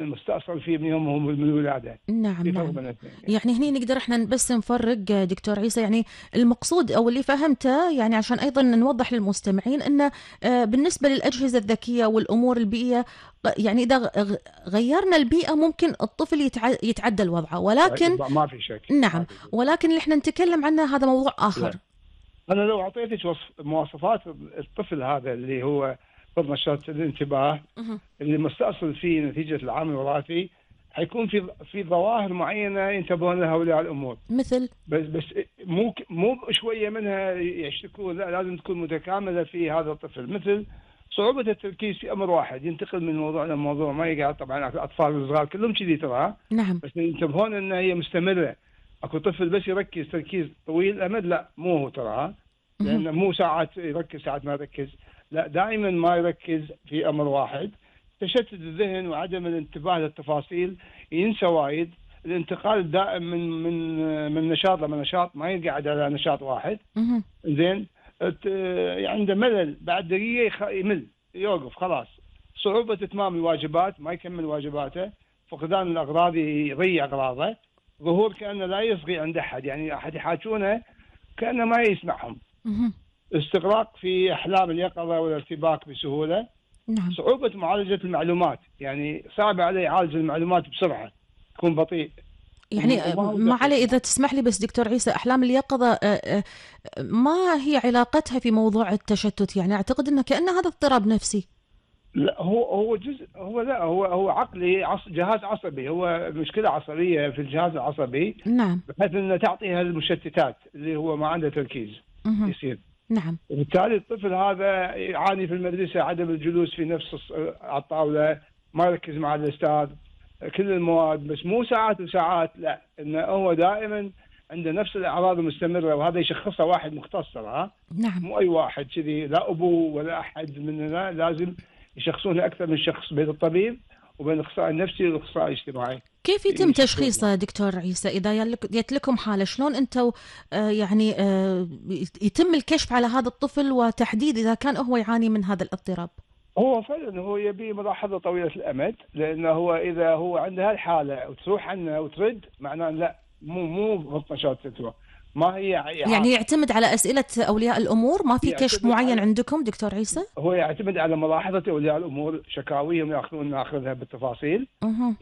المستأصل فيه من يومه من الولادة. نعم في فرق نعم. بين الاثنين يعني. يعني هني نقدر احنا بس نفرق دكتور عيسى، يعني المقصود او اللي فهمته يعني عشان ايضا نوضح للمستمعين انه بالنسبه للاجهزه الذكيه والامور البيئيه، يعني اذا غيرنا البيئه ممكن الطفل يتعدل وضعه، ولكن ما في شك، ما نعم، في شك. ولكن اللي احنا نتكلم عنه هذا موضوع اخر. لا. أنا لو أعطيتك مواصفات الطفل هذا اللي هو فضل نشاط الانتباه، مه. اللي مستأصل فيه نتيجة العامل الوراثي، حيكون في ظواهر معينة ينتبهون لها أولياء الأمور. مثل بس مو شوية منها يشتكون، لا، لازم تكون متكاملة في هذا الطفل. مثل صعوبة التركيز في أمر واحد، ينتقل من موضوع لموضوع، ما يقعد. طبعا الأطفال الصغار كلهم كذي ترى، نعم. بس ينتبهون أن هي مستمرة. أكو طفل بس يركز تركيز طويل الأمد، لا مو هو ترى، مه. لأن مو ساعات يركز ساعات ما يركز، لا دائما ما يركز في أمر واحد. تشتت الذهن وعدم الانتباه للتفاصيل، ينسى وايد. الانتقال الدائم من نشاط لنشاط، ما يقعد على نشاط واحد. مه. زين. عنده ملل بعد دقيقة، يمل، يوقف خلاص. صعوبة إتمام الواجبات، ما يكمل واجباته. فقدان الأغراض، يضيع أغراضه. ظهور كأنه لا يصغي عند أحد، يعني أحد يحاجونه كأنه ما يسمعهم. مه. استغراق في أحلام اليقظة والارتباك بسهولة. نعم. صعوبة معالجة المعلومات، يعني صعب عليه يعالج المعلومات بسرعة، يكون بطيء. يعني وما هو ما علي دقيق. إذا تسمح لي بس دكتور عيسى، أحلام اليقظة ما هي علاقتها في موضوع التشتت؟ يعني أعتقد أنه كأنه هذا اضطراب نفسي. لا، هو جزء، هو عقلي، جهاز عصبي، هو مشكلة عصبية في الجهاز العصبي، نعم. بحيث انه تعطيها المشتتات اللي هو ما عنده تركيز مه. يصير. نعم. وبالتالي الطفل هذا يعاني في المدرسة عدم الجلوس في نفس على الطاولة، ما يركز مع الأستاذ، كل المواد، بس مو ساعات وساعات، لا، انه هو دائما عنده نفس الأعراض المستمرة. وهذا يشخصها واحد مختص، نعم. مو أي واحد كذي، لا أبوه ولا أحد مننا، لازم يشخصونه أكثر من شخص، بين الطبيب وبين الأخصائي النفسي والاخصائي الاجتماعي. كيف يتم تشخيصه دكتور عيسى إذا جت لكم حالة؟ شلون أنتوا يعني يتم الكشف على هذا الطفل وتحديد إذا كان هو يعاني من هذا الاضطراب؟ هو فعلا هو يبي ملاحظة طويلة الأمد، لأنه هو إذا هو عنده هالحالة وتروح عنه وترد، معناه لا، مو ضبط نشاط تتوى، ما هي يعني إعاقة. يعتمد على أسئلة أولياء الأمور، ما في كشف يعتمد معين على عندكم دكتور عيسى؟ هو يعتمد على ملاحظة أولياء الأمور، شكاويهم ناخذها بالتفاصيل أها.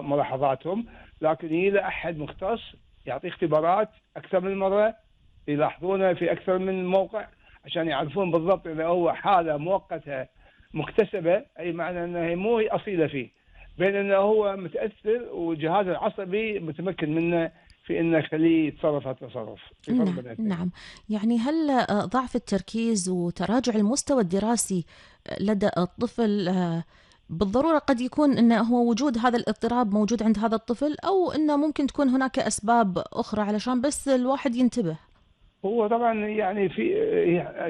ملاحظاتهم. لكن إلى أحد مختص يعطي اختبارات أكثر من مرة، يلاحظونه في أكثر من موقع، عشان يعرفون بالضبط إذا هو حالة مؤقتة مكتسبة، أي معنى أنها مو هي أصيلة فيه، بين أنه هو متأثر والجهاز العصبي متمكن منه في أنه يخليه يتصرف هالتصرف. في فرق نعم بين الاثنين. نعم. يعني هل ضعف التركيز وتراجع المستوى الدراسي لدى الطفل بالضرورة قد يكون أنه هو وجود هذا الاضطراب موجود عند هذا الطفل، أو أنه ممكن تكون هناك أسباب أخرى علشان بس الواحد ينتبه؟ هو طبعا يعني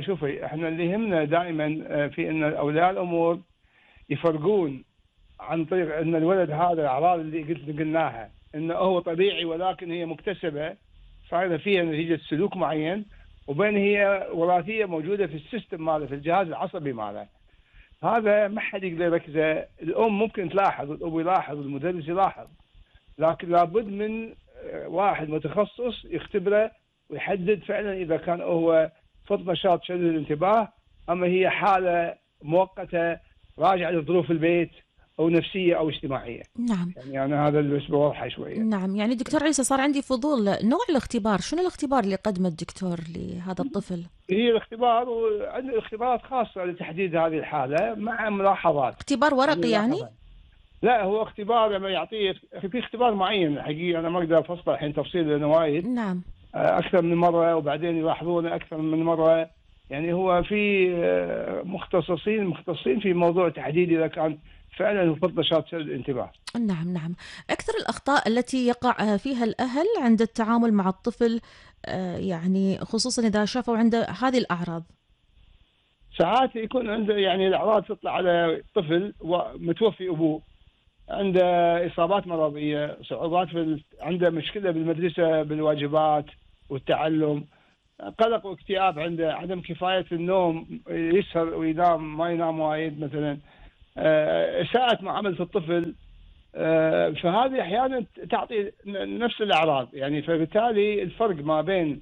شوفي، احنا اللي يهمنا دائما في ان اولياء الامور يفرقون عن طريق ان الولد هذا الاعراض اللي قلناها انه هو طبيعي ولكن هي مكتسبه، صايره فيها نتيجه سلوك معين، وبين هي وراثيه موجوده في السيستم ماله، في الجهاز العصبي ماله. هذا ما حد يقدر يركزه. الام ممكن تلاحظ، الاب يلاحظ، المدرس يلاحظ، لكن لابد من واحد متخصص يختبره ويحدد فعلا إذا كان هو فقد نشاط شديد الانتباه، أما هي حالة مؤقتة راجعة لظروف البيت، أو نفسية أو اجتماعية. نعم. يعني أنا هذا اللي بس بوضحه شوية. نعم. يعني دكتور عيسى صار عندي فضول، نوع الاختبار، شنو الاختبار اللي قدمه الدكتور لهذا الطفل؟ هي الاختبار، وعندنا اختبارات خاصة لتحديد هذه الحالة مع ملاحظات. اختبار يعني ورقي يعني؟ ملاحظات، لا، هو اختبار لما يعطيه في اختبار معين حقيقي، أنا ما أقدر أفصل الحين تفصيل لأنه وايد، نعم. أكثر من مرة، وبعدين يلاحظونه أكثر من مرة. يعني هو في مختصين في موضوع تحديد إذا كان فعلا هو فقد نشاط الانتباه. نعم نعم. أكثر الأخطاء التي يقع فيها الأهل عند التعامل مع الطفل، يعني خصوصا إذا شافوا عنده هذه الأعراض؟ ساعات يكون عنده يعني الأعراض تطلع على طفل ومتوفي أبوه، عنده إصابات مرضية، صعوبات عنده مشكلة بالمدرسة بالواجبات والتعلم، قلق واكتئاب، عنده عدم كفاية النوم، يسهر وينام، ما ينام وايد مثلا. إساءة معاملة الطفل. فهذه أحيانا تعطي نفس الأعراض يعني. فبالتالي الفرق ما بين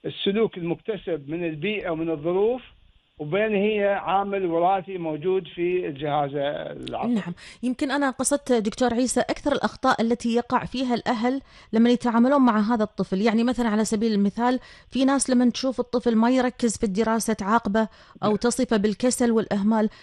السلوك المكتسب من البيئة ومن الظروف وبين هي عامل وراثي موجود في الجهاز العصبي. نعم، يمكن أنا قصدت دكتور عيسى أكثر الأخطاء التي يقع فيها الأهل لما يتعاملون مع هذا الطفل. يعني مثلا على سبيل المثال في ناس لما تشوف الطفل ما يركز في الدراسة تعاقبه أو تصفه بالكسل والإهمال.